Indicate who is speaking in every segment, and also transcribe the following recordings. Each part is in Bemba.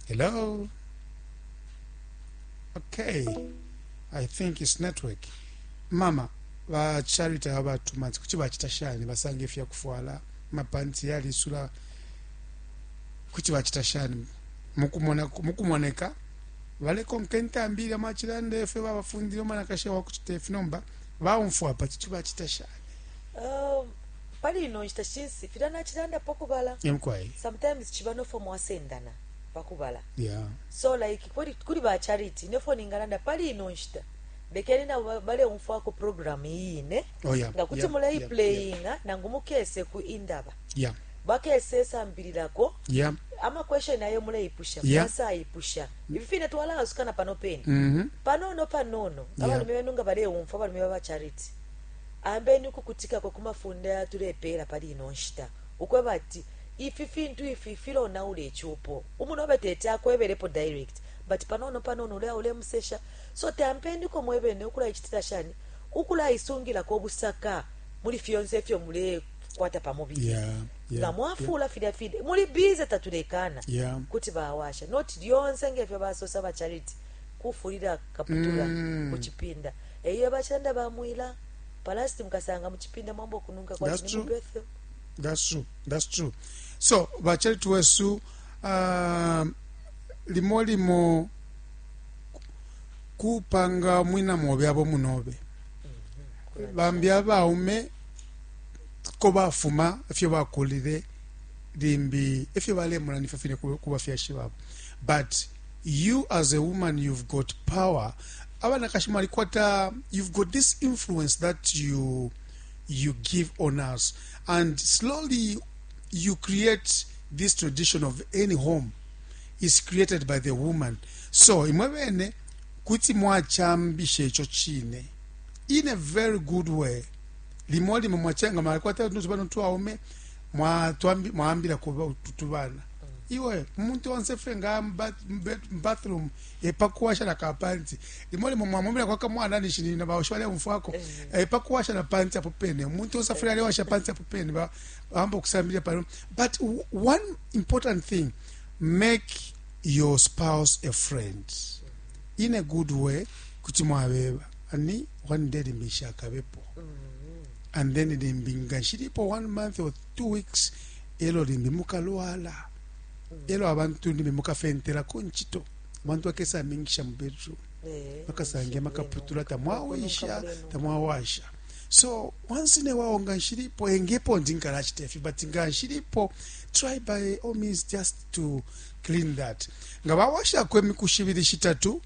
Speaker 1: Hello. Okay. I think it's network. Mama, ba Charity aba tumanzi kuti bacita shani basanga ifya kufwala mapanti yalisula kuti bacita shani mukumona mukumoneka balekonka intambi ilya mwacilanda ifyo babafundile umwanakashi wa kucita ifi nomba baumfwa apa kuti bacita shani
Speaker 2: um, pali ino nshita shinsi filya nacilanda pakubala
Speaker 1: emkwai
Speaker 2: sometimes chiba nofo mwasendana pakubala
Speaker 1: yeah
Speaker 2: so like kuli, kuli ba Charity nefo ningalanda pali ino nshita lekeni nabo baleumfwako program iyine
Speaker 1: oh yeah
Speaker 2: nga kuti
Speaker 1: yeah,
Speaker 2: muleiplayinga yeah, nangu mukese ku indaba
Speaker 1: yeah
Speaker 2: bakese sambililako
Speaker 1: yeah
Speaker 2: ama question ayo muleipusha
Speaker 1: Yeah.
Speaker 2: mwasayipusha ifi fine twalaasukana pano pene
Speaker 1: mhm
Speaker 2: panono panono
Speaker 1: Yeah.
Speaker 2: abalume benu nga baleumfwa abalume baba Charity ambeni ukukutikako ku mafunde ayatulepeela pali ino nshita ukweba ati ifi fintu ifi filonaula icupo umunobe tete akwebelepo direct but panono panono uleya ulemusesha so tampeniko mwebene ukulaicitila shani ukulaisungilako obusaka muli fyonse ifyo mulekwata pamubili
Speaker 1: yeah yeah
Speaker 2: nga mwafuula filya fine muli bize tatulekana
Speaker 1: yeah
Speaker 2: kuti bawasha not lyonse ngefyo basosa ba Charity kufulira kaputula
Speaker 1: Mm.
Speaker 2: kuchipinda eyo bachilanda bamwila palasti mukasanga muchipinda mwambo kununka
Speaker 1: That's
Speaker 2: kwati ni
Speaker 1: true.
Speaker 2: mubethe
Speaker 1: That's true. That's true. So, bacharity wesu um, limo limo kupanga mwina mobe abo munobe bambi abaume ko bafuma ifyo bakulile limbi ifyo balemona nifyo fine ku ku bafyashi babo but you as a woman you've got power abanakashi mwalikwata you've got this influence that you you give on us and slowly you create this tradition of any home is created by the woman so imwe bene kuti mwachambisha icho chine in a very good way limo limo mwachenga mwalikwata tubana twaume mwaambila kuba tutubana iwe umuntu onse fye nga bathroom epakuwasha na kapanti limo limo mwamumila kwa kamwana nishini na baoshwale umfwako epakuwasha na panti apo pene umuntu onse fye alewasha panti apo pene ba bamba kusambilia pano but one important thing make your spouse a friend in a good way kuti mwabeba ani one day limbi akabepo and then limbi nga nshilipo one month or 2 weeks elo limbi mukalwala elo abantu limbi mukafentelako ncito abantu bakesa mingisha mu bedroom bakasange makaputula tamwawisha tamwawasha so once in a while nga nshilipo engepo ndi nkalachita ifi but nga nshilipo try by all means just to clean that nga bawashako imiku shibili shitatu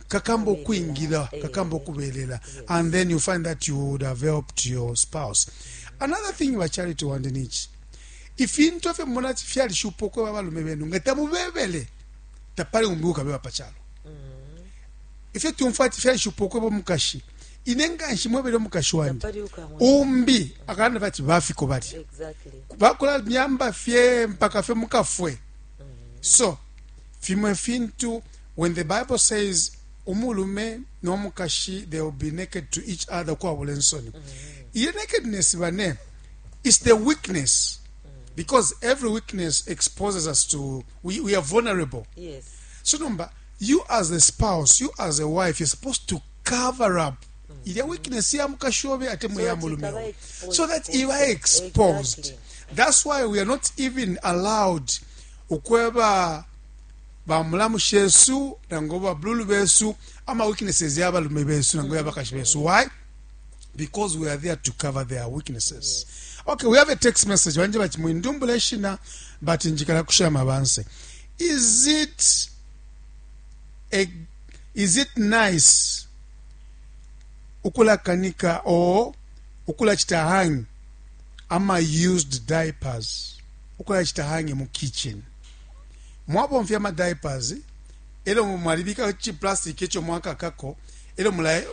Speaker 1: kakamba okwingira kakamba okubelela and then you find that you would have helped your spouse another thing bacharity wandi nichi ifintu efyo mumona ati fyalishupa okweba abalume benu nga tamubebele tapali umbi ukabeba pachalo ifyo tumfwa ati fyalishupa okweba omukashi ine nga nshimwebele omukashi wandi
Speaker 2: Tapali ukamwe.
Speaker 1: umbi akalanda bati bafiko balya
Speaker 2: exactly
Speaker 1: bakola myamba fye mpaka fye mukafwe so fimwe fintu when the bible says umulume nomukashi they will be naked to each other kwabula ensoni iyo nakedness bane is the weakness because every weakness exposes us to we, we are vulnerable
Speaker 2: yes
Speaker 1: so number you as a spouse you as a wife you're supposed to cover up ilya weakness ya mukashi obe ate mwe
Speaker 2: So
Speaker 1: ya
Speaker 2: that
Speaker 1: mulume
Speaker 2: ikaba
Speaker 1: obe
Speaker 2: exposed.
Speaker 1: so that iba exposed
Speaker 2: Exactly.
Speaker 1: that's why we are not even allowed ukweba bamulamu shesu nango bablulu besu ama weaknesses ya balume besu nango ya bakashi besu why because we are there to cover their weaknesses okay we have a text message banje bati mwindumbula eshina but njikala kushama banse is it a, is it nice ukulakanika or ukulachita hang ama used diapers ukulachita hang mu kitchen mwabomfya ama diapers elo mwalibika chi plastic echo mwakakako elo mula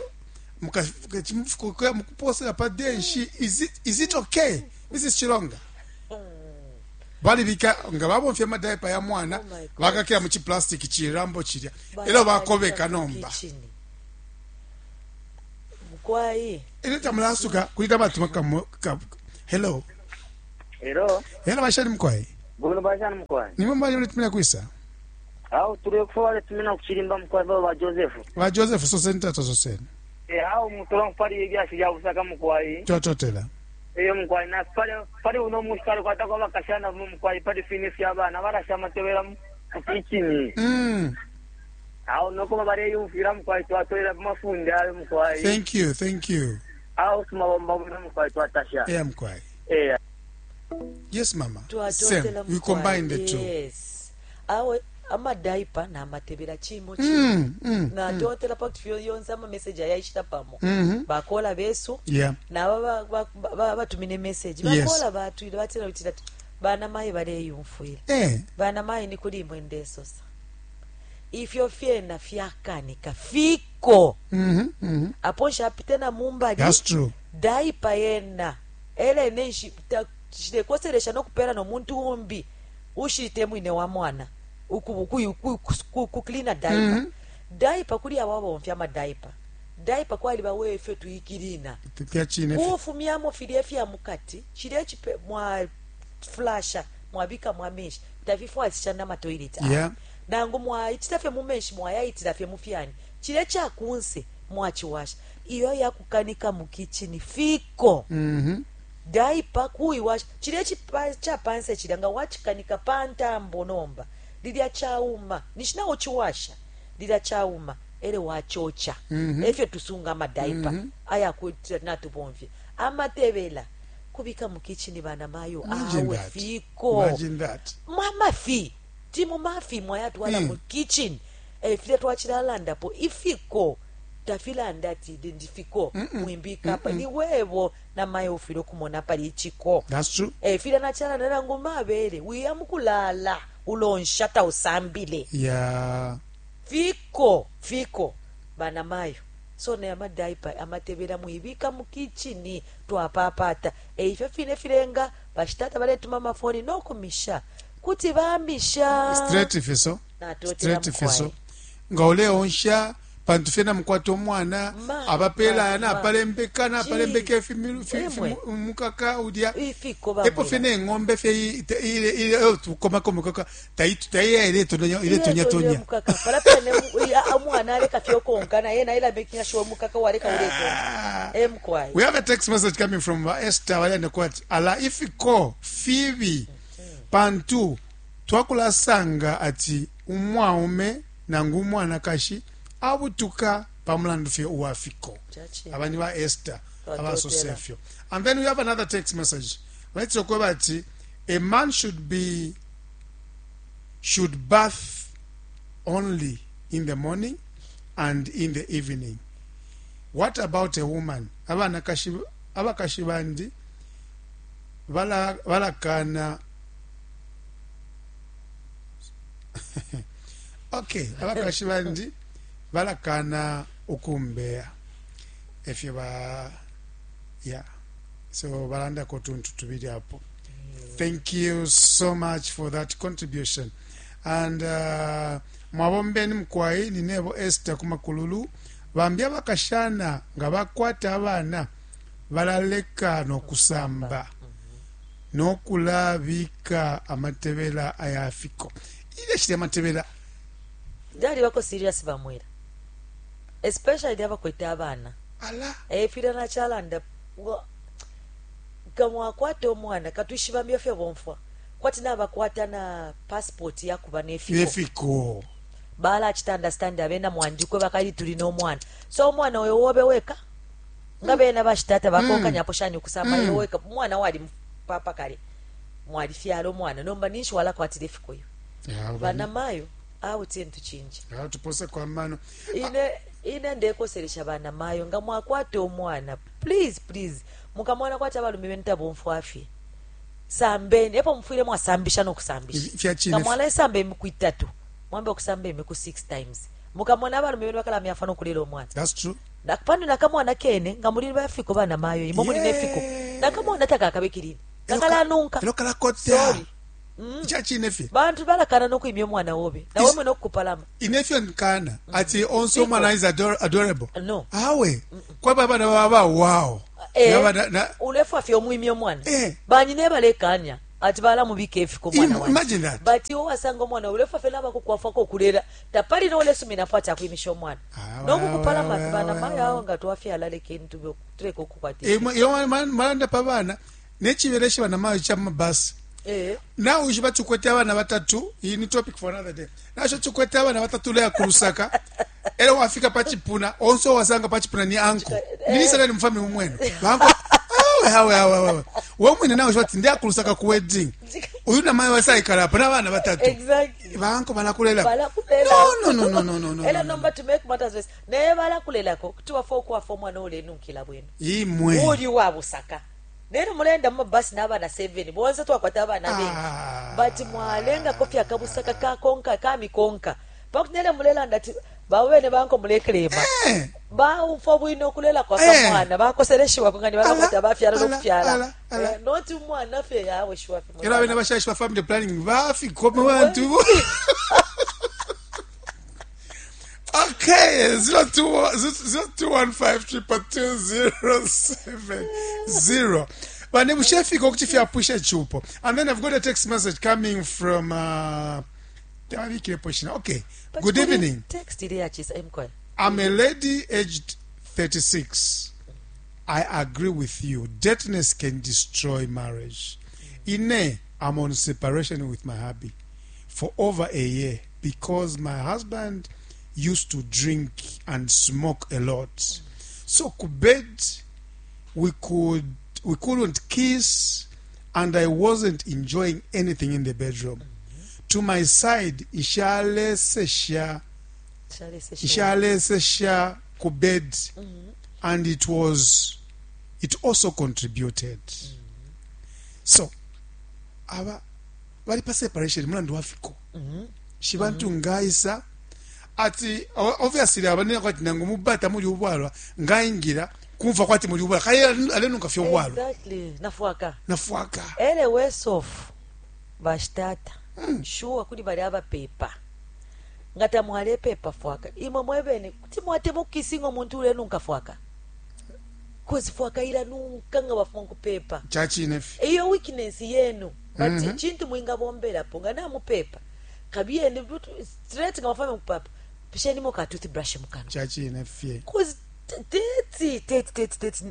Speaker 1: mukuposera pa denshi is it, is it okay mrs chilonga balibika nga babomfya ama diaper ya mwana
Speaker 2: Oh my God.
Speaker 1: bakakira mu chi plastic chirambo chilya elo bakobeka nomba
Speaker 2: Kitchen. Mukwai
Speaker 1: ine tamulasuka kulita batuma kamu ka, hello
Speaker 3: Hello,
Speaker 1: hello bashani mkwai
Speaker 3: buno bashani mkwai.
Speaker 1: nimwe mbali mulitumira kwisa
Speaker 3: Awe tulekufa baletumina kuchilimba mukwai baba ba Joseph.
Speaker 1: Ba Joseph soseni tata soseni.
Speaker 3: Eh awe mutola pali ibyashi bya busaka mukwai.
Speaker 1: Twatotela.
Speaker 3: Eyo mukwai na pali pali uno mushikali kwata kwa bakashana mu mukwai pali fini fya bana barasha amatebera mu kitchen. Awe noko bareyumfira mukwai twatolera mafundi ayo mukwai.
Speaker 1: Thank you, thank you.
Speaker 3: Awe tumabomba bwino mukwai twatasha.
Speaker 1: Eh mukwai.
Speaker 3: Eh.
Speaker 1: Yes mama.
Speaker 2: Twatotela
Speaker 1: Same. We
Speaker 2: mukwai.
Speaker 1: combine the two.
Speaker 2: Yes. Awe amadaipa namatebera chimo chimo. Natotela pakuti fyo yonse amameseji ayaishita pamo. Bakola besu
Speaker 1: Yeah.
Speaker 2: naba batumine message
Speaker 1: Yes.
Speaker 2: bakola batwile batila bitila bana mayi baleyumfwila.
Speaker 1: Eh.
Speaker 2: Bana mayi ni kuli imwe ndesosa ifyo fyena fyakanika fiko. Apo nshapite na mumbali.
Speaker 1: That's true.
Speaker 2: Daipa yena elene nshilekosselesha nokupela nomuntu umbi ushite mwine wa mwana kuklina daipa. Daipa kuli abo abomfya amadaipa daipa kwali bawefe tuyikilina
Speaker 1: Fyachine.
Speaker 2: kufumyamo filya ifya mukati chilya chipe mwa flasha mwabika mwa menshi tafifwasisha na matoilet. Nangu mwaitila fye mu menshi mwayayitila fye mufyani chilya chakunse mwachiwasha iyo yakukanika mu kitchen fiko. Daipa kuiwasha chilya chapanse chilya nga wachikanika pantambo nomba lilya chauma nishinawo chiwasha lilya chauma ele wachocha. Efyo tusunga amadaipa. Aya kuti natubomfye amatebela kubika mu kitchen bana mayo.
Speaker 1: Imagine
Speaker 2: awe
Speaker 1: that.
Speaker 2: fiko.
Speaker 1: Imagine that.
Speaker 2: Mwamafi timu mafi mwayatwala mu kitchen eh, filya twachilalandapo ifiko tafilanda ati ndifiko mwimbika apa ni webo na mayo ufile okumona pali ichiko.
Speaker 1: That's true.
Speaker 2: Eh, filya nachalanda nangu mabele wiya mukulala ulonsha tausambile.
Speaker 1: Yeah.
Speaker 2: Fiko fiko bana mayo so ne amadaipa amatebela mwibika mu kitchen twapapata e ifyo fine filenga bashitata baletuma amafoni nokumisha kuti bamisha.
Speaker 1: Straight fiso.
Speaker 2: Natotela
Speaker 1: Straight
Speaker 2: mukwai.
Speaker 1: fiso. Nga uleonsha pantu fye namukwata omwana abapela aya napalembeka napalembeka
Speaker 2: Emwe.
Speaker 1: mukaka ulya
Speaker 2: ifiko
Speaker 1: epo fye
Speaker 2: bamwira
Speaker 1: neng'ombe fye tukomako mukaka taiya iletonya
Speaker 2: mukaka pala pene omwana aleka fyokonka naye naye making sure mukaka waleka uletonka emkwai.
Speaker 1: We have a text message coming from Esther Wayande kwati ala ifiko fibi pantu twakulasanga ati umwaume nangu umwanakashi abutuka pamulandu fye uwafiko.
Speaker 2: Chachi.
Speaker 1: Abani ba Esther
Speaker 2: Twatotela.
Speaker 1: abasosefyo. And then we have another text message. Let's talk about a man should bath only in the morning and in the evening. What about a woman? Abanakashi abakashi bandi bala balakana. Okay, abakashi bandi balakana ukumbeya efyo ba yeah, so balandako tuntu tubiri apo. Thank you so much for that contribution and mwabombeni mukwai ninebo Esther kumakululu bambi abakashana nga bakwata abana balaleka nokusamba nokulabika amatebela ayafiko ile shili amatebela.
Speaker 2: Ndali bako serious bamwira especially abakwete abana.
Speaker 1: Ala
Speaker 2: efila nachalanda gamwakwata omwana katwishibambya fye bomfwa kwati nabakwata na passport yakuba nefiko.
Speaker 1: Nefiko.
Speaker 2: Bala chita understand abena mwandikwe bakali tuli n'omwana so omwana oyo wobe weka nga bena bashitata bakonkanyapo shani okusamba mm. weka omwana wali papa kale mwali fyalo omwana nomba ninshi walakwatira efiko yo banamayo awo tintu chinji.
Speaker 1: Tupose kwa mano.
Speaker 2: Ine ine ndekoselesha banamayo nga mwakwata omwana please please mukamwana kwati abalume benu tabomfwafye sambeni epo mufwile mwasambisha nokusambisha
Speaker 1: Fyachine.
Speaker 2: nga mwalaisamba emiku itatu mwambe okusamba emiku 6 times mukamwana abalume benu bakalama nokulela omwana.
Speaker 1: That's true.
Speaker 2: Pano nakamwana kene nga muli bafiko bana mayo imo muli
Speaker 1: Yeah.
Speaker 2: nefiko nakamwana takakabekilini kakalanunka.
Speaker 1: Elo kalakota.
Speaker 2: Sorry.
Speaker 1: Chachine fye.
Speaker 2: Bantu balakana nokuimya omwana wobe nawe mwene okukupalama.
Speaker 1: Inefyo nkana ati onse omwana is adorable.
Speaker 2: No.
Speaker 1: Awe kwaba abana baba wow.
Speaker 2: Eh,
Speaker 1: Yaba na
Speaker 2: ulefu afye omwimya omwana.
Speaker 1: Eh.
Speaker 2: Banyine balekanya Ati balamubika ifiko mwana wandi.
Speaker 1: Imagine that.
Speaker 2: But iwe wasanga omwana ulefa fena abakukwafako okulera tapali nolesuminapo ati akwimisha omwana
Speaker 1: Ah,
Speaker 2: nokukupalama
Speaker 1: ah,
Speaker 2: bana
Speaker 1: ah,
Speaker 2: mayo awo nga twafyala lekeni tuleke okukwata
Speaker 1: Iyo malanda pa bana nechibeleshe bana mayo cha mabasi.
Speaker 2: Eh.
Speaker 1: Nawe ushiba tukwete abana batatu, iyi ni topic for another day. Nasho tukwete abana batatu leya ku Lusaka. Era wafika pachipuna, onso wasanga pachipuna ni anko. Nini ni mfami umwenu. Banko awe awe awe awe. Wewe mwene nawe shwati ndiya ku Lusaka ku wedding. Uyu na mayo wasaikala apa n'abana batatu.
Speaker 2: Exactly.
Speaker 1: Banko balakulela.
Speaker 2: Balakulela.
Speaker 1: No no no no no no.
Speaker 2: Era
Speaker 1: no, no.
Speaker 2: nomba to make matters worse naye balakulelako kuti wafa okwafa omwana olenunkila bwino.
Speaker 1: Imwe.
Speaker 2: Uli wa busaka. Nero mulenda mu mabasi n'abaana 7 bonse twakwata abaana bengi.
Speaker 1: Ah.
Speaker 2: But mwalengako fye akabusaka kakonka kamikonka. Pakuti nere mulelanda ati bawene banko mulekelema.
Speaker 1: Eh.
Speaker 2: Baufa bwino okulela kwa
Speaker 1: Eh.
Speaker 2: kamwana bakoseleshiwako nga nibalakwata
Speaker 1: Ala,
Speaker 2: bafyala
Speaker 1: ala,
Speaker 2: n'okufyala.
Speaker 1: ala, ala.
Speaker 2: Eh, not umwana fye yawe shuwa fye.
Speaker 1: Era abene bashashi ba family planning bafikome bantu. Okay, 0215 22070. Bane bushefika okuti fyapusha chupo. And then I've got a text message coming from tabikirepo shina. Okay.
Speaker 2: But
Speaker 1: Good
Speaker 2: kuli
Speaker 1: evening.
Speaker 2: Text iri yachisa emkwaya.
Speaker 1: I'm a lady aged 36. I agree with you. Dirtiness can destroy marriage. Ine, I'm on separation with my hubby for over a year because my husband used to drink and smoke a lot. So ku bed we couldn't kiss and I wasn't enjoying anything in the bedroom. To my side, ishalesesha ishalesesha ku bed and it also contributed. So aba bali pa separation mulandu wafiko shibantu ngaisa ati obviously abanene kwati nangu mubata muli ubwalwa ngaingira kumva kwati muli ubwalwa kaye alenuka fye ubwalwa.
Speaker 2: Exactly. Nafwaka.
Speaker 1: Nafwaka.
Speaker 2: Ele wesofu bashitata shuwa kuli bali abapepa nga tamwalepepa fwaka imwe mwebene kuti mwatema okukisinga omuntu ulenunka fwaka kozi fwaka ilanunka nga bafuma nkupepa
Speaker 1: chachine fi
Speaker 2: iyo weakness yenu but chintu mwingabomberapo nga namupepa kabiyeni straight nga bafame mukupapa pishenimo ka toothbrush mukano
Speaker 1: chachine fye
Speaker 2: kozi teti teti teti teti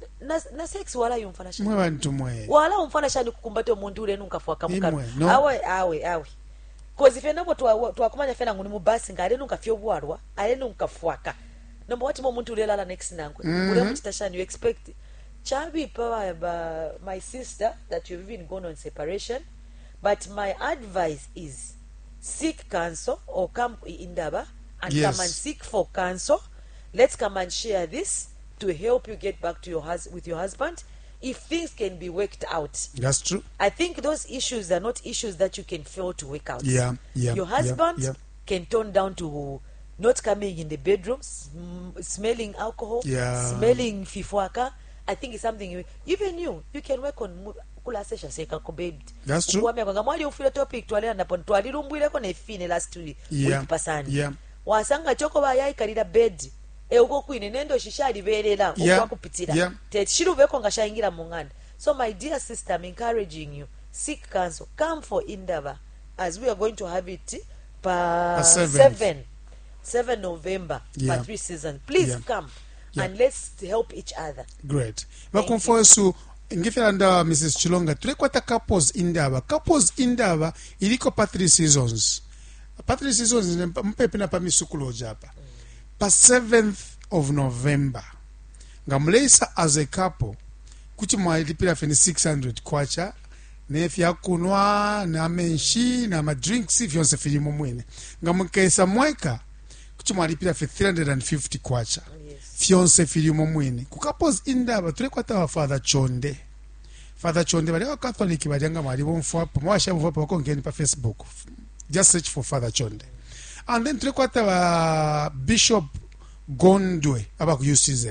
Speaker 2: na sex wala yumfana shani
Speaker 1: mwe bantu mwe
Speaker 2: wala umfana shani kukumbata omuntu ulenunka fwaka mukano
Speaker 1: Imwe, no.
Speaker 2: awe awe awe kozi fye nabo twakumanya fye nangu ni mubasi nga alenunka fye obwalwa alenunka fwaka nomba watima omuntu ulelala next nankwe ulemuchita shani you expect chabipa my sister that you've even gone on separation, but my advice is seek counsel or come indaba and
Speaker 1: Yes.
Speaker 2: come and seek for counsel. Let's come and share this to help you get back to your with your husband if things can be worked out.
Speaker 1: That's true.
Speaker 2: I think those issues are not issues that you can fail to work out.
Speaker 1: Yeah,
Speaker 2: Your husband
Speaker 1: yeah.
Speaker 2: can turn down to not coming in the bedroom, smelling alcohol, smelling fifwaka. I think it's something even you can work on kulasesha seka ko babe.
Speaker 1: That's true.
Speaker 2: Ukuwamya kwanga mwali ufile topic twalera napo twalilumbwileko nefine last week
Speaker 1: Yeah,
Speaker 2: pasani.
Speaker 1: yeah.
Speaker 2: Wasanga choko bayaikalira bed euko kwine nendo shishaliberera okwakupitira techiruveko nga shayingira mu ng'anda. So my dear sister, I'm encouraging you, seek counsel, come for indaba as we are going to have it pa
Speaker 1: Pa 7th.
Speaker 2: 7 November pa 3 season. Please come and let's help each other.
Speaker 1: Great. Bakumfosu ngifyalanda Mrs. Chilonga tulekwata couples indaba. Couples indaba iliko pa 3 seasons. Pa 3 seasons mpepe na pa misukulo japa. Pa 7th of November. Nga muleisa as a couple kuti mwalipira feni 600 kwacha nefyakunwa na menshi na madrinks fyonse filimo mwene. Nga mukesa mweka kuti mwalipira fe 350 kwacha.
Speaker 2: Yes.
Speaker 1: Fyonse filimo mwene. Ku couples indaba tulekwata wa Father Chonde. Father Chonde bali wa Catholic bali nga mwali bomfwapo mwasha bomfwapo bakonkeni pa Facebook. Just search for Father Chonde. And then tulekwata wa Bishop Gondwe aba ku UCZ.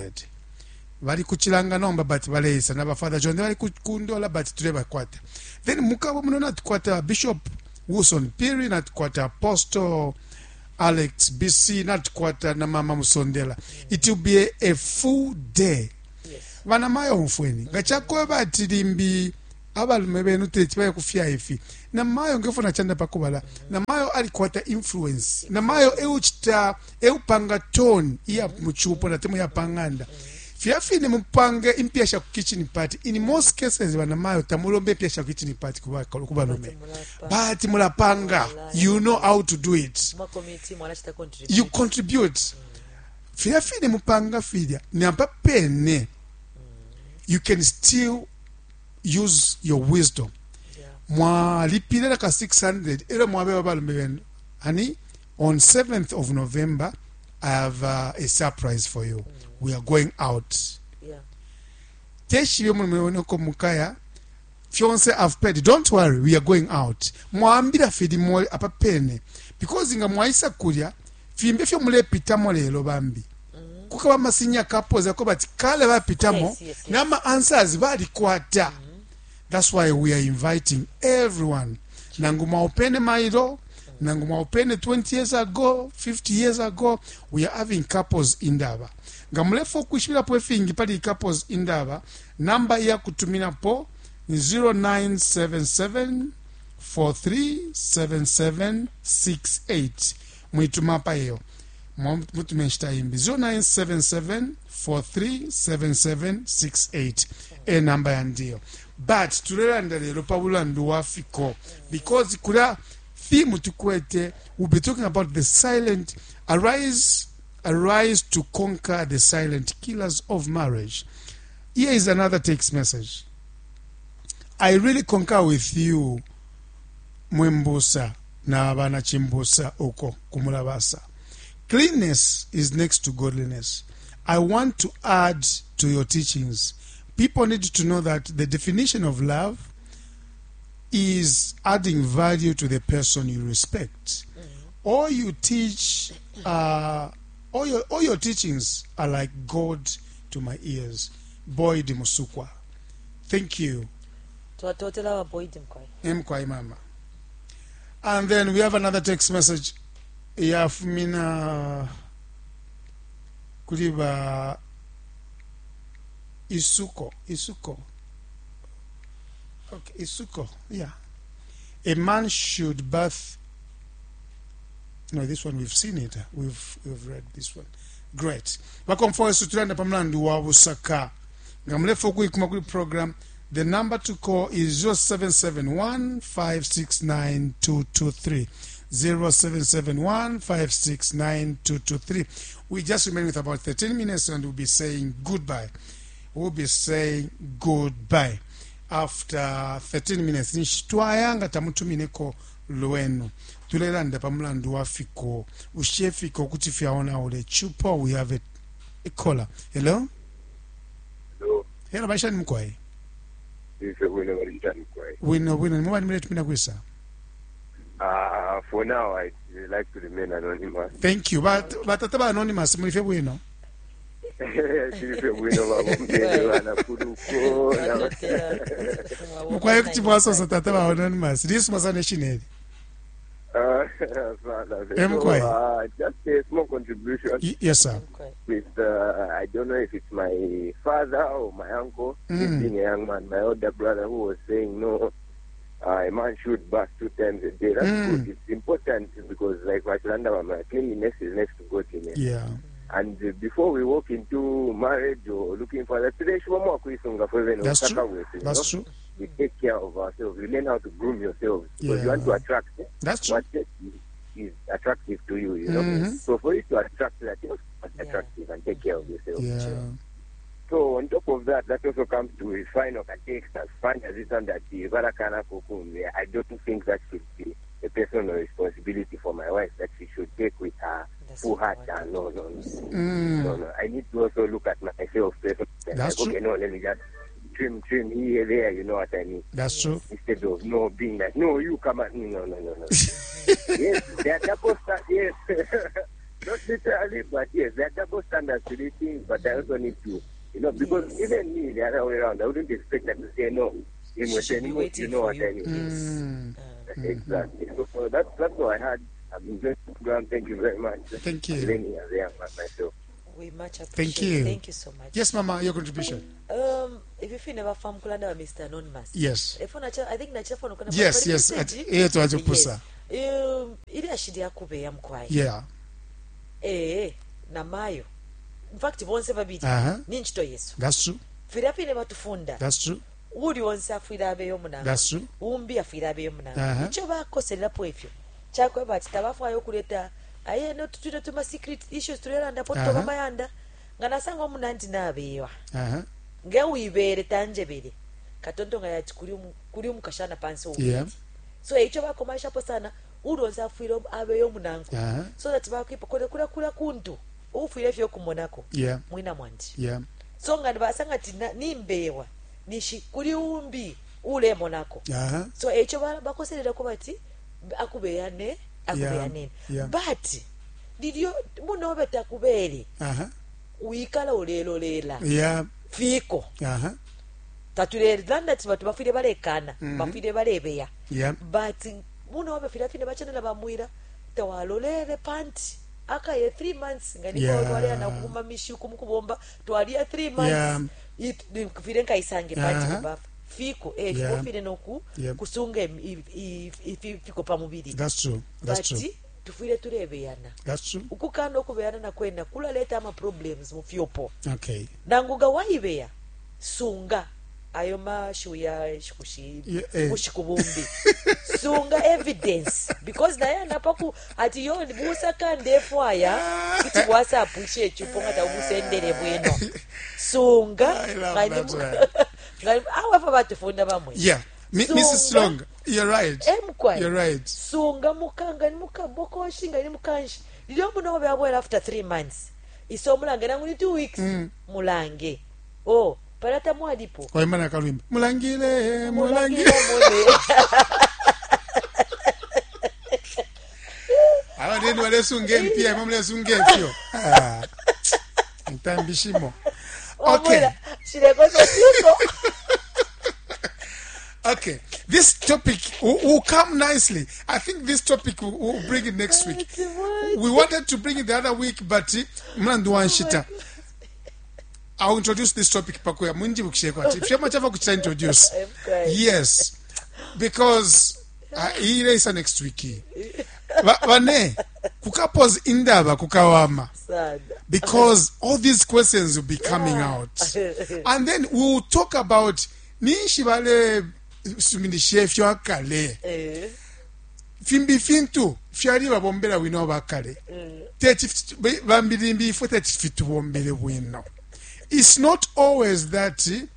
Speaker 1: Bali kuchilanga nomba but baleisa na ba Father Chonde bali kundola but tulebakwata. Then mukabo muno natukwata Bishop Wilson Piri natukwata Apostle Alex BC natukwata na Mama Musondela. It will be a full day.
Speaker 2: Yes.
Speaker 1: Vana mayo mfweni ngachakoba ati limbi Abalume benu teti baye kufya ifi. Namayo ngefo nachanda pakubala. Namayo alikwata influence. Namayo euchita eupanga tone iya muchupo na temu ya panganda. Fyafine mupange impya sha kitchen party. In most cases banamayo tamulombe impya sha kitchen party kuba kubalume. But mulapanga. You know how to do it.
Speaker 2: Mwa committee mwanachita contribute.
Speaker 1: You contribute. Fyafine mupanga filya. Nampa pene. You can still use your wisdom.
Speaker 2: Yeah.
Speaker 1: Mwalipilira ka 600 era mwabe babalume benu. Honey, on 7th of November, I have a surprise for you. We are going out.
Speaker 2: Yeah.
Speaker 1: Teshibe mulume wenoko mukaya fyonse I've paid. Don't worry, we are going out. Mwambira fidi mo apapene because nga mwaisa kulya fimbe fyo mulepitamo lelo bambi. Kukaba masinya couples ako bati kale bapitamo
Speaker 2: Yes, yes, yes.
Speaker 1: nama answers balikwata. That's why we are inviting everyone. Nangu mwaupene mailo, nangu mwaupene 20 years ago, 50 years ago, we are having couples indaba. Nga mulefa okuishibirapo efingi pali couples indaba, namba ya kutuminapo ni 0977 437768. Mwituma pa iyo. Mutume nshita imbi 0977 437768 e namba ya ndiyo. But tulelanda lelo pa bulandu wa fiko because kula theme tukwete we'll be talking about the silent arise arise to conquer the silent killers of marriage. Here is another text message. I really concur with you Mwembusa na bana Chimbusa uko kumulabasa. Cleanness is next to godliness. I want to add to your teachings. People need to know that the definition of love is adding value to the person you respect. All you teach, all your teachings are like God to my ears. Boyd Musukwa. Thank you.
Speaker 2: Twatotela ba Boyd mkwai.
Speaker 1: Mkwai mama. And then we have another text message. Yafumina kuliba Isuko. Isuko. Okay, Isuko. Yeah. A man should bath. No, this one we've seen it. We've read this one. Great. Bakomfoyesu tulanda pamlandu wa busaka. Nga mulefa okuikuma kuli program. The number to call is 0771 569 223. 0771 569 223. We just remain with about 13 minutes and we'll be saying goodbye. We'll be saying goodbye after 13 minutes. Nshitwayanga tamutumineko lwenu. Tulelanda pamulandu wa fiko. Ushefiko kuti fyaona ule chupo. We have a caller. Hello?
Speaker 4: Hello.
Speaker 1: Hello, maisha ni mkwai.
Speaker 4: Ife bwino bali njani kwai.
Speaker 1: Wino wino muba nimuletumina kwisa.
Speaker 4: For now I like to remain anonymous.
Speaker 1: Thank you. But batata ba anonymous mulife bwino.
Speaker 4: Tilife bwino babombere bana kuluko.
Speaker 1: Mukwaye kuti mwasosa tata ba anonymous. Lisuma sana shineli. Mkwai.
Speaker 4: Just a small contribution.
Speaker 1: Yes sir.
Speaker 4: With I don't know if it's my father or my uncle, being a young man, my older brother who was saying no, a man should bath 2 times a day. That's good. It's important because, like Vachilanda, cleanliness is next to godliness.
Speaker 1: Yeah.
Speaker 4: And before we walk into marriage or looking for that,
Speaker 1: that's true. That's true.
Speaker 4: We take care of ourselves. We learn how to groom yourselves because you want to attract.
Speaker 1: That's true.
Speaker 4: What is attractive to you, you know. Mm-hmm. So for you to attract that, you must be attractive and take care of yourself.
Speaker 1: Yeah.
Speaker 4: So on top of that, that also comes to a final text as fun as it's under the Barakana Kukum. I don't think that should be a personal responsibility for my wife that she should take with her full heart. No, no, no. No, no. I need to also look at myself personally.
Speaker 1: That's
Speaker 4: like,
Speaker 1: true.
Speaker 4: Okay, no, let me just trim here, there, you know what I mean.
Speaker 1: That's true.
Speaker 4: Instead of no being like, no, you come at me, no, no, no, no. Yes, there are double standards, yes. Not literally, but yes, there are double standards to these things, but I also need to, you know, because even me, the other way around, I wouldn't expect them to say no. In you know what I mean.
Speaker 2: Yes.
Speaker 4: Exactly. So that's what I had. I've enjoyed the program. Thank you very much.
Speaker 1: Thank you.
Speaker 4: I'm learning as I am myself.
Speaker 2: We much appreciate.
Speaker 1: Thank you.
Speaker 2: Thank you so much.
Speaker 1: Yes, Mama, your contribution.
Speaker 2: Ifi fine bafa mukulanda ba Mr. Anonymous.
Speaker 1: Yes.
Speaker 2: Efo nacha I think nacha phone kana
Speaker 1: Yes, yes, twachipusa.
Speaker 2: Yes. Ilyashi lyakubeya mukwai.
Speaker 1: Yeah.
Speaker 2: Eh, na mayo. In fact bonse babili. Ni nchito yesu.
Speaker 1: That's true.
Speaker 2: Filya fine batufunda.
Speaker 1: That's true.
Speaker 2: Uli onse afwile abeyo munango.
Speaker 1: That's true.
Speaker 2: Umbi afwile abeyo munango. Icho bakoselerapo ifyo. Chakweba ati tabafwayo okuleta aye no tutwine tuma secret issues tulelanda po tutoba mayanda. Nga nasanga omunandi nabewa. Nge uibere tanjebere. Katonto nga yati kuri umukashana pansi ubu.
Speaker 1: Yeah.
Speaker 2: So icho bakomashapo sana uli onse afwile abeyo munango. So that bakwipa kule kula kula kuntu. Ufwile fyo kumonako.
Speaker 1: Yeah.
Speaker 2: Mwina mwandi.
Speaker 1: Yeah.
Speaker 2: So nga basanga ati nimbewa. Nishi kuri umbi ule monako. So echo bakoserera ko bati akubeyane akubeyanene.
Speaker 1: Yeah.
Speaker 2: But lilyo munobe takubere. Uikala ulelolela.
Speaker 1: Yeah.
Speaker 2: Fiko. Tatulelanda ati batu bafire balekana, bafire balebeya.
Speaker 1: Yeah.
Speaker 2: But munobe fira fine bachanela bamwira tawalolele panti. Akaye 3 months ngani
Speaker 1: Yeah.
Speaker 2: kwa twalea na kuma mishuku mukubomba twalia 3 months.
Speaker 1: Yeah.
Speaker 2: Fire nkaisange panti kubafa. Fiko
Speaker 1: Yeah.
Speaker 2: fire noku
Speaker 1: Yeah.
Speaker 2: kusunga fiko pamubiri.
Speaker 1: That's true. That's
Speaker 2: But
Speaker 1: true.
Speaker 2: tufire tulebeyana.
Speaker 1: That's true.
Speaker 2: Ukukana okubeyana nakwena kulaleta ama problems mu fyopo.
Speaker 1: Okay.
Speaker 2: Nanguga waibeya sunga ayo mashu ya shikushi
Speaker 1: Yeah, eh.
Speaker 2: kushikubumbi. Sunga evidence because naye anapaku ati yo busaka ndefu aya kuti WhatsApp ishe chupo ngata ubusendere bwino. Sunga
Speaker 1: I love that one.
Speaker 2: ngani awafa batufunda bamwe.
Speaker 1: Yeah. Mrs. Long, you're right.
Speaker 2: Emkwai.
Speaker 1: You're right.
Speaker 2: Sunga mukanga ni mukabokoshi nga ni mukanshi. Lilyo muno byabwera after 3 months. Iso mulange nangu ni 2 weeks. Mulange. Oh, palata mwalipo.
Speaker 1: Kwa imana kalwimba. Mulangile,
Speaker 2: Mulangile
Speaker 1: mulangile.
Speaker 2: mule.
Speaker 1: Awa ndeni walesunga empya, imwe mulesunga empyo. Ah. Ntambishimo. Okay.
Speaker 2: Wamwela, shilekoso siko.
Speaker 1: Okay, this topic will come nicely. I think this topic we'll bring it next week. We wanted to bring it the other week, but mlandu wanshita. I'll introduce this topic pakuya munji bukisheko ati fyema chava kuchita introduce.
Speaker 2: I'm crying.
Speaker 1: Yes, because ile isa next week. Vane kukapose indaba kukawama.
Speaker 2: Sana.
Speaker 1: Because all these questions will be coming out. And then we will talk about ninshi bale suminishe fyo akale. Fimbi fintu fyali babombela wino bakale. Teti bambilimbi ifwe teti fitubombele wino. It's not always that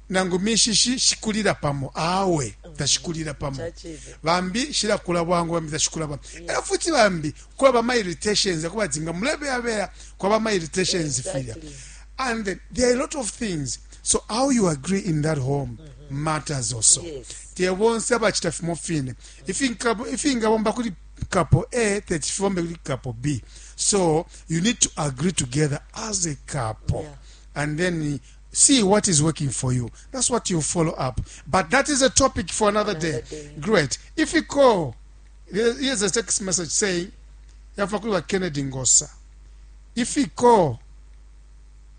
Speaker 1: nangu mishishi shikulira pamo awe tashikulira pamo. Bambi shilakula bwangu bambi tashikula bwangu. Era futi bambi kwaba ma irritations kuba tinga mulebe abera kwaba ma irritations
Speaker 2: Exactly.
Speaker 1: filya. And then there are a lot of things. So how you agree in that home matters also.
Speaker 2: Yes.
Speaker 1: Te bonse abachita fimo fine. Ifingabomba kuli couple A, tetifombe kuli couple B. So you need to agree together as a couple.
Speaker 2: Yeah.
Speaker 1: And then see what is working for you. That's what you follow up. But that is a topic for another,
Speaker 2: Another
Speaker 1: day.
Speaker 2: day.
Speaker 1: Great. If you call, here's a text message saying, Yafakulwa Kennedy Ngosa. If you call,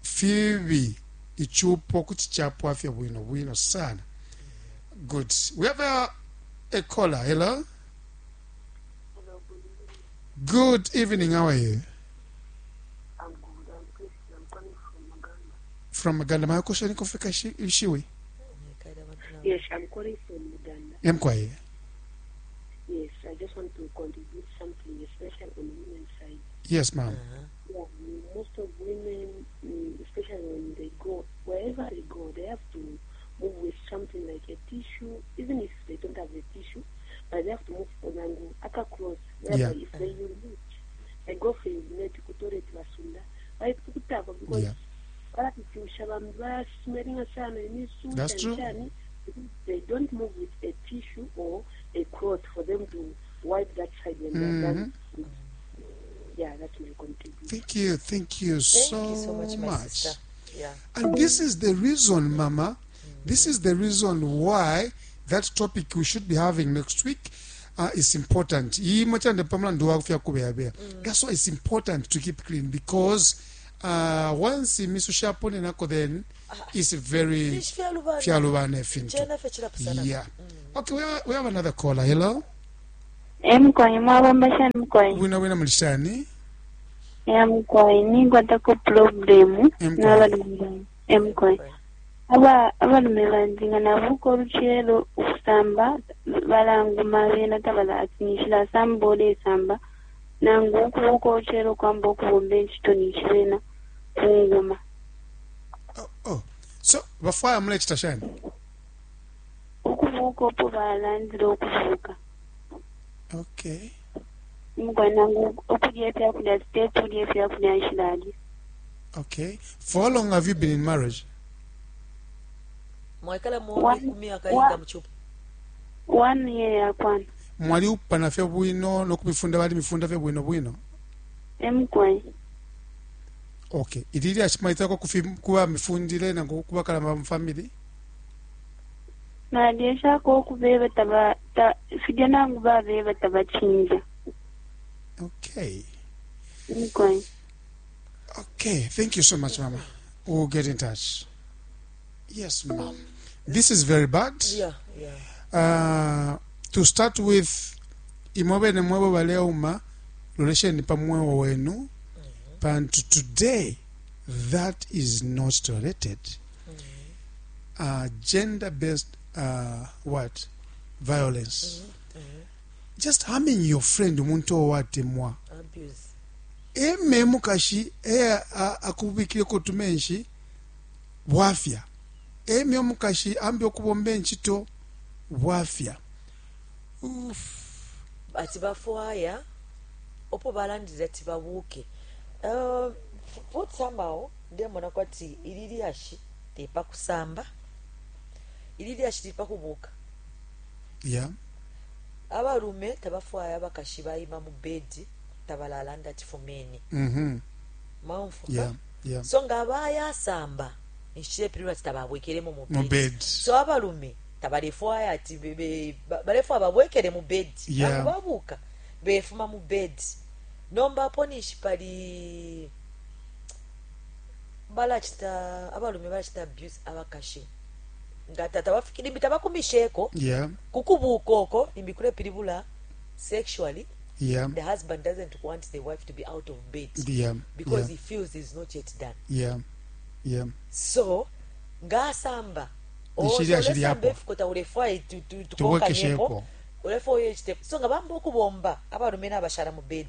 Speaker 1: Phoebe, ichupo kuti chapo afya bwino bwino sana. Good. We have a caller. Hello? Good evening. How are you?
Speaker 5: I'm good. I'm Christian. I'm calling from Uganda.
Speaker 1: From Uganda. My question kufika shiwi.
Speaker 5: Yes, I'm calling from Uganda.
Speaker 1: Emkwaye.
Speaker 5: Yes, I just want to contribute something, especially on the women's side.
Speaker 1: Yes, ma'am.
Speaker 5: Yeah, most of women, especially when they go, wherever they go, they have to move with something like a tissue, even if they don't have a tissue, but they have to move on aka clothes.
Speaker 1: Yeah.
Speaker 5: If they urinate, they go for urinate, kutoilet basunda, kutapa because
Speaker 1: Yeah. That's true.
Speaker 5: They don't move with a tissue or a cloth for them to wipe that side when they're done. Yeah, that's my contribution.
Speaker 1: Thank you. Thank you
Speaker 2: Thank
Speaker 1: so,
Speaker 2: you so much, my
Speaker 1: much.
Speaker 2: sister. Yeah.
Speaker 1: And this is the reason, Mama, this is the reason why that topic we should be having next week is important. That's why it's important to keep clean, because Once imisu shaponenako then it's very
Speaker 2: Ninshi fyalubana.
Speaker 1: Fyalubana ifintu.
Speaker 2: Cena fye cilapusana.
Speaker 1: Yeah. Okay, we have another caller. Hello.
Speaker 6: E mukwai, mwabomba shani mukwai?
Speaker 1: Bwino bwino, muli shani?
Speaker 6: Ya mukwai, ninkwatako problem
Speaker 1: E mukwai.
Speaker 6: N'abalume banje. E mukwai. Aba abalume banje nga nabuka oluchelo okusamba balanguma bena tabala ati nishilasamba olesamba nangu ukubuka oluchelo kwamba okubomba enchito nishi bena kunguma.
Speaker 1: Oh. So bafwaya mulechita shani?
Speaker 6: Ukubuka opo balandile okubuka.
Speaker 1: Okay.
Speaker 6: Mukwai, nangu okulya ebyakulya titetulya ebyakulya nshilalya.
Speaker 1: Okay. For how long have you been in marriage?
Speaker 2: Mwaikala mu ku myaka inga muchupa?
Speaker 6: One year yakwana.
Speaker 1: Mwaliupana fye bwino nokubifunda balimifunda fye bwino bwino?
Speaker 6: E mukwai.
Speaker 1: Okay. Ilili ashimaitako kuba mifundile nangu kuba kalamba mu family?
Speaker 6: Nalyeshako okubeba taba ta, filya nangu babeba tabachinja.
Speaker 1: Okay.
Speaker 6: Mukwai.
Speaker 1: Okay, thank you so much, Mama. We'll get in touch. Yes, ma'am. This is very bad. To start with, imwe bene mwebo baleuma lolesheni pa mweo wenu pantu today that is not tolerated. Gender based what violence, just harming your friend, umuntu owatemwa.
Speaker 2: Abuse.
Speaker 1: Eme mukashi e akubikileko tumenshi bwafya, eme omukashi ambi okubomba enchito bwafya. Oof.
Speaker 2: Ati bafwaya opo balandire ati babuuke. But somehow ndemona kwati ili lyashi lipa kusamba, ili lyashi lipa kubuuka. Abalume tabafwaya abakashi bayima mu bedi, tabalalanda ati fumeni. Mwaumfuka?
Speaker 1: Yeah.
Speaker 2: So nga bayasamba nshipilwa ati tababwekeremo mu
Speaker 1: mu
Speaker 2: bed.
Speaker 1: Bed.
Speaker 2: So abalume tabalefwaya ati balefwaya babwekere mu bed. Nangu babuka befuma mu bed, nomba apo ninshi pali balachita abalume balachita abuse abakashi nga tatabafiki limbi tabakumisheko kukubuka oko limbi kulepilibula sexually. The husband doesn't want the wife to be out of bed because he feels he's not yet done. So ngasamba
Speaker 1: Nshili ashili hapo.
Speaker 2: efikota ulefwaye tukonkanyepo.
Speaker 1: Tubwekeshepo.
Speaker 2: Ulefwaye chite so nga bamba okubomba abalume n'abashala mu bed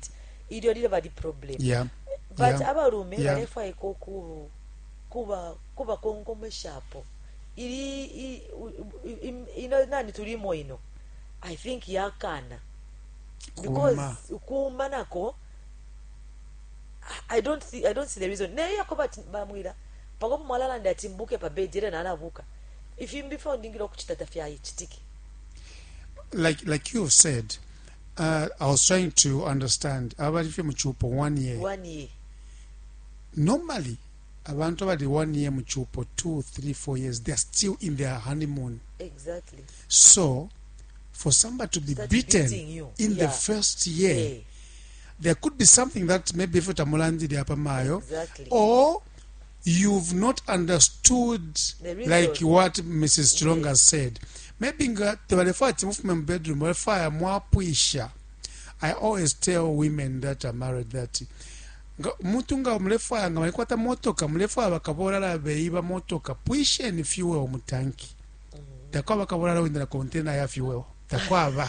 Speaker 2: ilyo lile bali problem. But abalume balefwaiko kuba kubakonkomeshapo ili ino nani tulimo ino, I think yakana because
Speaker 1: Kuma.
Speaker 2: kuma nako I don't see the reason naye yakoba ati bamwira pakopo mwalalanda ati mbuke pa bed era nalabuka ifimbi fyo ndingile okuchita tafyayichitike.
Speaker 1: Like you've said, I was trying to understand abali fye muchupo one year.
Speaker 2: One year.
Speaker 1: Normally abantu abali one year muchupo, 2, 3, 4 years, they're still in their honeymoon. So for somebody to be
Speaker 2: Start
Speaker 1: beaten
Speaker 2: beating you.
Speaker 1: in the first year, there could be something that maybe if utamulandile apa mayo or you've not understood
Speaker 2: The reason.
Speaker 1: Like what Mrs. Chilonga said, maybe nga tebalefwaya ati mufume mu bedroom, balefwaya mwapwisha. I always tell women that are married that nga muntu nga mulefwaya nga malikwata motoka mulefwaya bakabolala beiba motoka, pwisheni fuel mu tanki, takwaba kabolala wenda na container ya fuel, takwaba.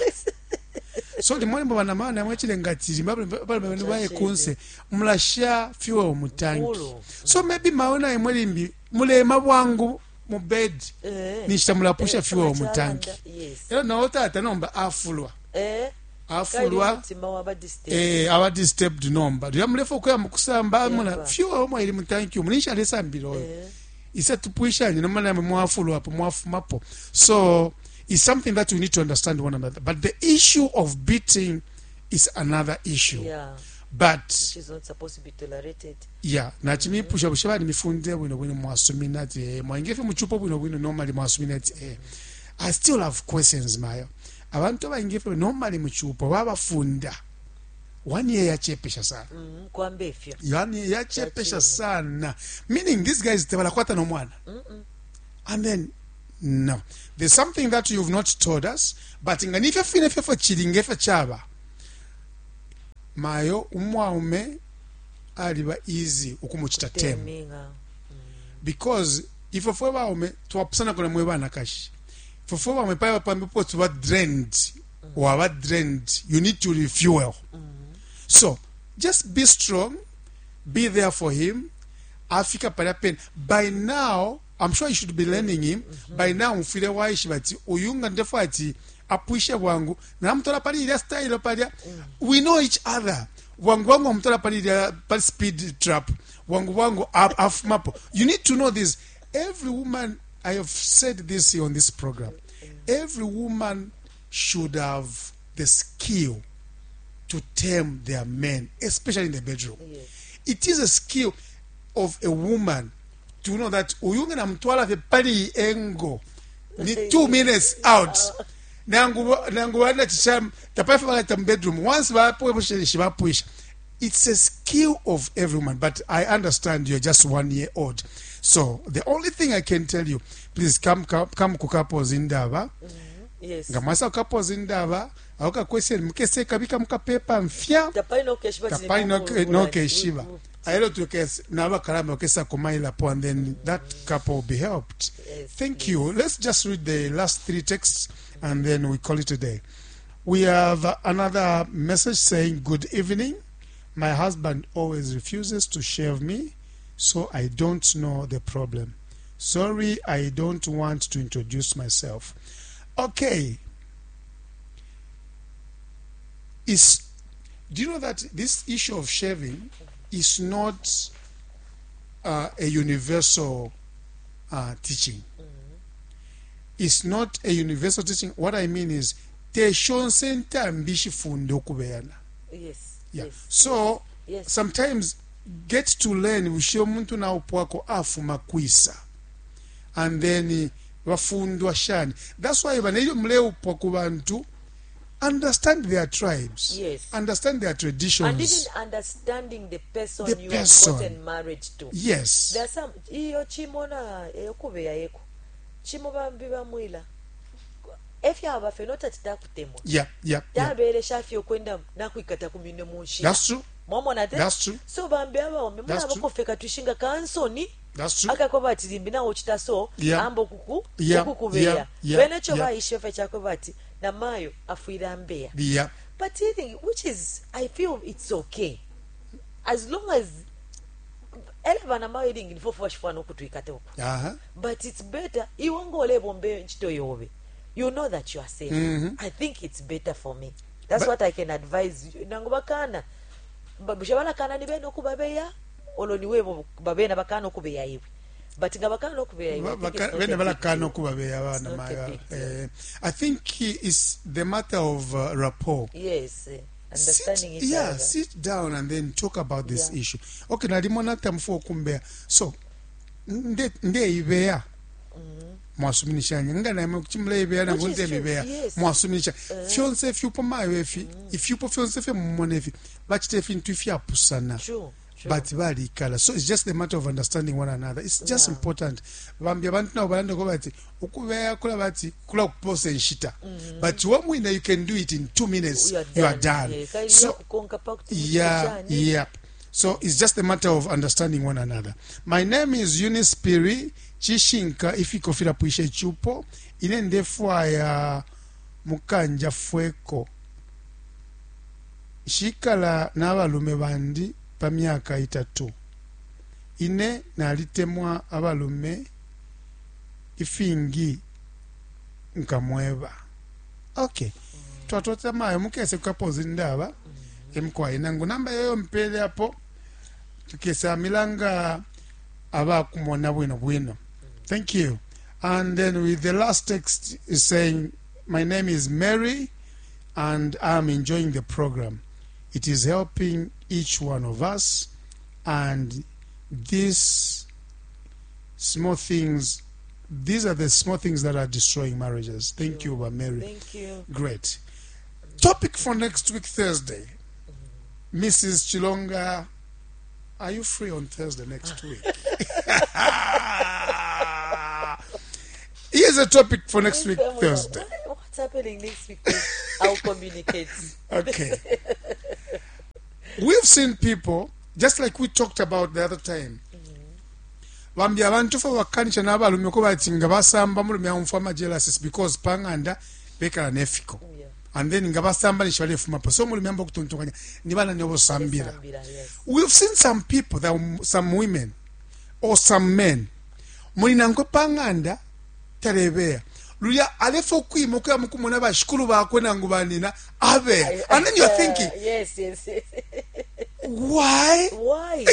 Speaker 1: So limwe bana maana mwechilenga ati balume baye kunse mulasha fuel mu tanki.
Speaker 2: Mulu.
Speaker 1: So maybe maona imwe limbi mulema bwangu mu bed nishita mulapusha fuel mu tanki. Ero nawo tata nomba afulwa. Afulwa.
Speaker 2: Mutima waba disturbed.
Speaker 1: Aba disturbed nomba lya mulefa okuya mukusamba muna fuel omwe ili mu tanki umunisha alesambila oyo isa tupwishanye nomba namwe mwafulwapo mwafumapo. So it's something that we need to understand one another, but the issue of beating is another issue. But
Speaker 2: She's not supposed to be tolerated.
Speaker 1: Yeah, nachimipusha bushe bali mifunde bwino bwino mwasumina ati mwaingefe muchupo bwino bwino normally mwasumina ati I still have questions mayo. Abantu abaingefe normally muchupo babafunda. One year yachepesha sana.
Speaker 2: Kwamba ifyo.
Speaker 1: One year yachepesha sana. Meaning these guys tabalakwata no mwana. And then no. There's something that you've not told us, but nga nifyo fine fyefyo chili ngefyo chaba. Mayo umwaume aliba easy ukumuchita tame.
Speaker 2: Teminga.
Speaker 1: Because ifwe fwe baume twapusana na mwe banakashi. Ifwe fwe baume paya pambipo tuba drained. Waba drained. You need to refuel. So just be strong, be there for him. Afika palya pene. By now, I'm sure you should be learning him. By now, mfile waishiba ati uyu nga ndefwa ati apwishe bwangu namutola pali ilya style palya. We know each other. Bwangu bwangu amutola pali ilya pali speed trap. Bwangu bwangu afumapo. You need to know this. Every woman, I have said this here on this program. Every woman should have the skill to tame their men, especially in the bedroom.
Speaker 2: Yes.
Speaker 1: It is a skill of a woman to know that uyu nga namutwala fye pali engo ni 2 minutes out. Nangu nangu wana chisham tapaifa bakata mu bedroom once bapwe bapwisha. It's a skill of every woman, but I understand you're just 1 year old. So the only thing I can tell you, please come come, come ku couples indaba.
Speaker 2: Yes.
Speaker 1: Nga mwasa ku couples indaba, aho question mukese kabika mukapepa mfya.
Speaker 2: Tapali no keshiba.
Speaker 1: Tapali no keshiba. Aelo tukes nabakalamba bakesa kumailapo and then that couple will be helped.
Speaker 2: Yes,
Speaker 1: Thank you. Let's just read the last three texts and then we call it a day. We have another message saying, good evening. My husband always refuses to shave me, so I don't know the problem. Sorry, I don't want to introduce myself. Okay. Do you know that this issue of shaving is not a universal teaching? It's not a universal teaching. What I mean is, te shonse ntambi shifunde okubeyana.
Speaker 2: Yes.
Speaker 1: Yeah.
Speaker 2: Yes.
Speaker 1: So
Speaker 2: Yes.
Speaker 1: sometimes get to learn ushe omuntu naupwako afuma kwisa and then bafundwa shani. That's why banelyo muleupwa ku bantu understand their tribes.
Speaker 2: Yes.
Speaker 1: Understand their traditions.
Speaker 2: And even understanding the person
Speaker 1: The
Speaker 2: you
Speaker 1: person.
Speaker 2: have gotten married to.
Speaker 1: Yes.
Speaker 2: There are some iyo chimona eyokubeya yeko. Chimo bambi bamwila. Efya abafe not titakutemwa.
Speaker 1: Yeah.
Speaker 2: Tabelesha fye okwenda nakwikata kumine mu nshila.
Speaker 1: That's true.
Speaker 2: Mwamona te?
Speaker 1: That's true.
Speaker 2: So bambi abaume
Speaker 1: That's
Speaker 2: muna
Speaker 1: true.
Speaker 2: bakofeka twishinga kansoni.
Speaker 1: That's true.
Speaker 2: Akakoba ati limbi nawo chita so
Speaker 1: Yeah.
Speaker 2: ambo kuku
Speaker 1: Yeah.
Speaker 2: kukubeya.
Speaker 1: Yeah.
Speaker 2: Bene cho
Speaker 1: Yeah.
Speaker 2: baishe fe chako bati na mayo afwira mbeya.
Speaker 1: Yeah.
Speaker 2: But I think, which is, I feel it's okay. As long as ele bana mayo ilingi nifofo bashifwana okutwikate uko. But it's better iwe ngolebombe nchito yobe. You know that you are safe. I think it's better for me. That's what I can advise you. Nangu bakana. Bushe balakana ni bene okubabeya olo niwe babena bakana okubeya iwe. But nga bakana okubeya iwe. I think it's not a
Speaker 1: Bene
Speaker 2: big
Speaker 1: balakana
Speaker 2: deal.
Speaker 1: okubabeya
Speaker 2: It's
Speaker 1: abana
Speaker 2: not a
Speaker 1: mayo.
Speaker 2: big deal.
Speaker 1: I think it's the matter of rapport.
Speaker 2: Yes. Understanding each other.
Speaker 1: Sit down and then talk about this
Speaker 2: Yeah.
Speaker 1: issue. Okay, nalimona tamfo okumbeya. So ndeibeya. Mwasuminishanya nga naimwe kuti muleibeya nangu
Speaker 2: Which is true,
Speaker 1: ndemibeya.
Speaker 2: yes.
Speaker 1: Mwasuminisha. Fyonse ifyupo mayo efi, ifyupo fyonse fye mumona efi, bachita ifintu ifyapusana.
Speaker 2: True. True.
Speaker 1: But balikala. So it's just a matter of understanding one another. It's just
Speaker 2: Yeah.
Speaker 1: important. Bambi abantu nabo balanda ko bati ukubeya kula bati kula kuposa enshita. But wamwina you can do it in 2 minutes.
Speaker 2: You are
Speaker 1: You are done.
Speaker 2: Yeah, kali
Speaker 1: So
Speaker 2: kukonka pa kuti
Speaker 1: yeah,
Speaker 2: muchani.
Speaker 1: yeah. So it's just a matter of understanding one another. My name is Eunice Piri Chishinka ifikofira puishe chupo ine ndefwaya mukanja fweko shikala n'abalume bandi pa myaka itatu ine nalitemwa abalume ifingi nkamweba. Okay. Twatota mayo mukese kukapozi ndaba emkwayi nangu namba yoyo mpele apo tukesa milanga abakumona bwino bwino. Thank you. And then with the last text is saying, my name is Mary and I'm enjoying the program. It is helping each one of us, and these small things, these are the small things that are destroying marriages. Thank you, Mary.
Speaker 2: Thank you.
Speaker 1: Great. Topic for next week, Thursday. Mrs. Chilonga, are you free on Thursday next week? Here's a topic for next week, Thursday.
Speaker 2: What's happening next week? I'll communicate.
Speaker 1: Okay. We've seen people, just like we talked about the other time. Bambi abantu fo bakanisha n'abalume ko bati nga basamba mulume aumfwa ama-jealousies because pang'anda bekala nefiko. And then nga basamba nisha balefumapo so mulume amba okutontonkanya ni bana nibo sambira.
Speaker 2: Yes.
Speaker 1: We've seen some people that some women or some men muli nankwe pang'anda talebeya lulya alefa okwima okuya mukumona bashikulu bakwe nangu banina abeya and then you're thinking
Speaker 2: Yes.
Speaker 1: Why?
Speaker 2: Why?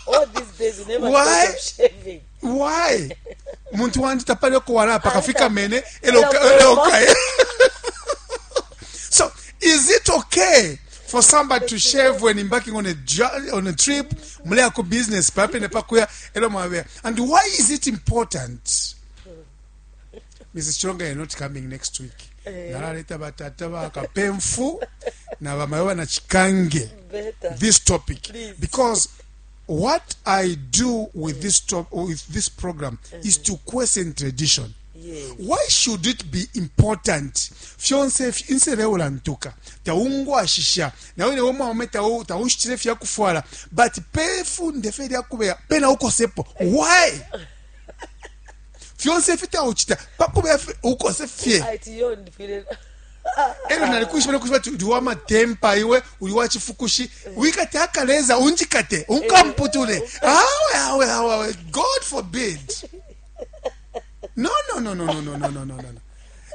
Speaker 2: All these days you never
Speaker 1: Why?
Speaker 2: thought of shaving.
Speaker 1: Why? Muntu wandi tapale okuwala kafika mene
Speaker 2: Elo
Speaker 1: eloka. So is it okay for somebody to shave when embarking on a on a trip, muleyako business papene pakuya elo mwabeya? And why is it important? Mrs. Chilonga, you're not coming next week. Nalaleta batata bakapemfu na bamayo na chikange
Speaker 2: Better.
Speaker 1: this topic.
Speaker 2: Please.
Speaker 1: Because what I do with this top, with this program is to question tradition.
Speaker 2: Yes.
Speaker 1: Why should it be important? Fyonse insele ulantuka taungwashisha nawe newe mwaume taushitile fyakufwala but pefunde fe lyakubeya pena ukosepo. Why? Fyonse fitauchita pakubeya ukose fye.
Speaker 2: Ati yo ndifile.
Speaker 1: Elo nalikuisha nalikuisha ati uli wa matempa iwe uli wa chifukushi wikate akaleza unjikate unkamputule awe awe awe awe God forbid. No, no, no, no, no, no, no, no, no, no.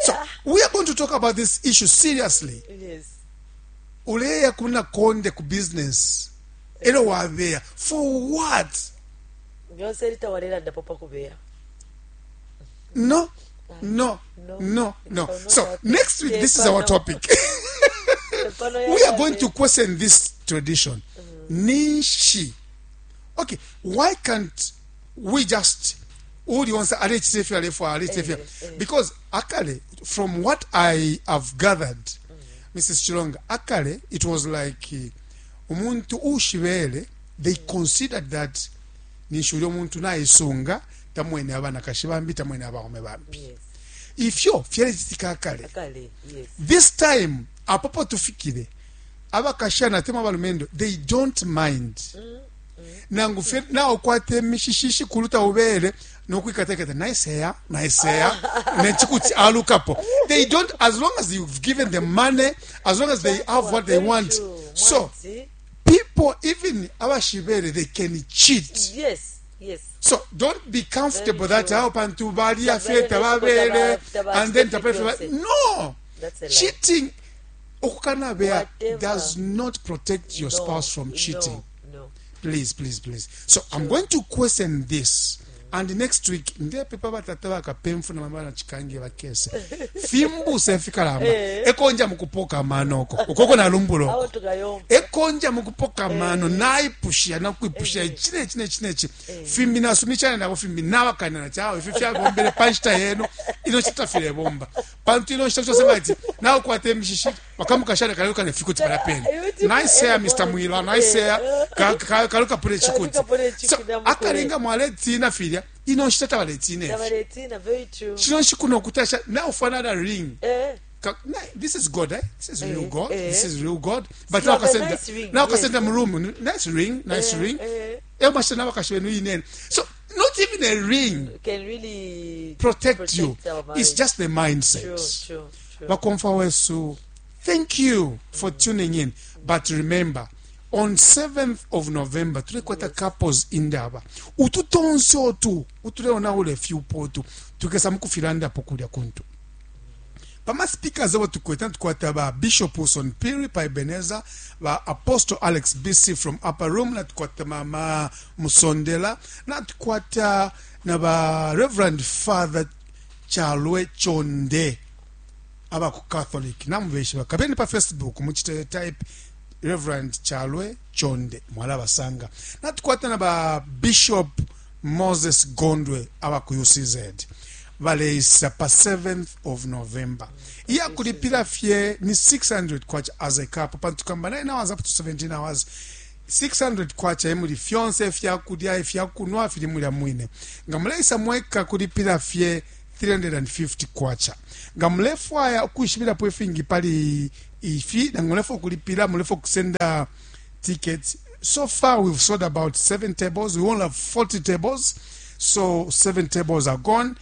Speaker 1: So we are going to talk about this issue seriously.
Speaker 2: Yes.
Speaker 1: Uleya kuna konde ku business elo wabeya for what?
Speaker 2: Byonse litawalela ndapo pakubeya.
Speaker 1: No, no,
Speaker 2: No.
Speaker 1: no, no.
Speaker 2: It shall not
Speaker 1: So
Speaker 2: happen.
Speaker 1: next week, this is our topic. We are going to question this tradition. Ninshi. Okay, why can't we just uli onse alechitefya alefwa alechitefya? Because akale, from what I have gathered, Mrs. Chilonga, akale it was like umuntu ushibele, they considered that ninshi uli omuntu naisunga tamwene abana kashi bambi tamwene abaume bambi.
Speaker 2: Yes.
Speaker 1: Ifyo fyalechitika akale.
Speaker 2: Akale, yes.
Speaker 1: This time apopo tufikile abakashana tema abalumendo they don't mind. Nangu fe nawo kwate mishishishi kuluta ubele nokwikateketa nice hair, nice hair nechikuti alukapo. They don't, as long as you've given them money, as long as they have what they
Speaker 2: Very
Speaker 1: want.
Speaker 2: true.
Speaker 1: So
Speaker 2: Mwanzi.
Speaker 1: people even abashibele they can cheat.
Speaker 2: Yes, yes.
Speaker 1: So don't be comfortable
Speaker 2: Very
Speaker 1: that
Speaker 2: true.
Speaker 1: how pantu balia
Speaker 2: Tabele
Speaker 1: feta babele
Speaker 2: taba-
Speaker 1: and then
Speaker 2: taba-
Speaker 1: tapele no.
Speaker 2: That's a lie.
Speaker 1: Cheating okukanabea
Speaker 2: Whatever.
Speaker 1: does not protect your
Speaker 2: No,
Speaker 1: spouse from cheating.
Speaker 2: No, no.
Speaker 1: Please, please, please. So I'm going to question this. And next week ndepepa batata bakapemfu na mama na chikange bakese fimbuse fikalamba ekonja mukupoka manoko ukoko na lumbulo
Speaker 2: Awo tukayomba.
Speaker 1: ekonja mukupoka mano naipusha nakuipusha chine chine chine chi fimbi nasumichana nabo fimbi nabakanana chawo ifi fyabombele panshita yenu ino chita filebomba pantu ino chita chose bati nawe kwate mishishi wakamukashana kaluka nefikuti palapeni nice hair Mr. Mwila nice hair kaluka pule chikuti.
Speaker 2: Kaluka pule chikuti,
Speaker 1: So
Speaker 2: namukule.
Speaker 1: akalinga mwaletina filya ino nshita tabaletina ifi
Speaker 2: Tabaletina, very true.
Speaker 1: chino nshikuno kutasha now for another ring.
Speaker 2: Eh.
Speaker 1: This is God, eh? This is real
Speaker 2: Eh,
Speaker 1: God.
Speaker 2: eh.
Speaker 1: This is real God. But
Speaker 2: You
Speaker 1: now
Speaker 2: have a
Speaker 1: kasenda,
Speaker 2: nice ring,
Speaker 1: now
Speaker 2: yes.
Speaker 1: kasenda muroom, nice ring, nice
Speaker 2: Eh,
Speaker 1: ring.
Speaker 2: eh.
Speaker 1: Eh, mashana bakashwenu inene. So not even a ring
Speaker 2: Can really
Speaker 1: protect you.
Speaker 2: our
Speaker 1: It's
Speaker 2: marriage.
Speaker 1: just the mindset.
Speaker 2: True, true, true.
Speaker 1: Bakomfa wesu, thank you for tuning in. But remember, on 7th of November, tulekwata couples indaba. Ututonse otu, utuleona ule fyupo otu, tukesa mukufilanda pokulya kuntu. Pama speakers abo tukweta tukwata ba Bishop Wilson Piri pa Ebenezer, ba Apostle Alex BC from Upper Room, na tukwata mama Musondela, na tukwata na ba Reverend Father Chalwe Chonde aba ku Catholic namubeshe bakabeni pa Facebook muchite type Reverend Chalwe Chonde mwala basanga, na tukwata na ba Bishop Moses Gondwe aba ku UCZ. Baleisa pa 7th of November. Iya kulipila fye ni 600 kwacha as a couple, pantu kamba 9 hours up to 17 hours. 600 kwacha emuli fyonse ifyakulya, ifyakunwa fili mulya mwine. Nga muleisa mweka, kulipila fye 350 kwacha. Nga mulefwaya ukwishibilapo ifingi pali ifi, nangu mulefwaya ukulipila, mulefwaya kusenda tickets, so far we've sold about 7 tables. We only have 40 tables, so 7 tables are gone.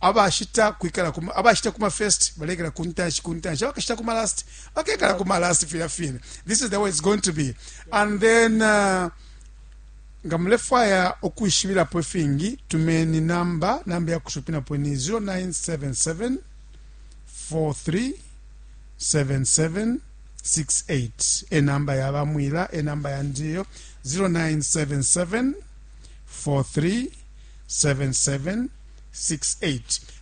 Speaker 1: Abashita kwikala kuma, abashita kuma first balekela kuntanshi kuntanshi, abakashita kuma last bakekala kuma last, filya fine. This is the way it's going to be. And then nga mulefwaya ukwishibilapo ifingi, tumeni namba. Namba ya kushupinapo ni 0977 43 7768. Enamba yabamwila, enamba yandiyo 0977 43 7768.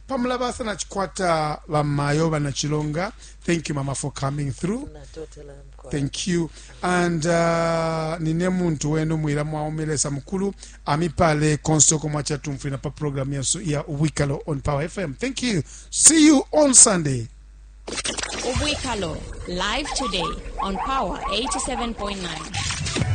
Speaker 1: Pamulabasa na chikwata bamayo banachilonga. Thank you, mama, for coming through.
Speaker 2: Natotela mkwai.
Speaker 1: Thank you. And nine muntu wenu mwila mwaumelesa mukulu amipale konsoko mwachatumfwina pa program yasu ya Ubwikalo on Power FM. Thank you, see you on Sunday.
Speaker 7: Ubwikalo, live today on Power 87.9.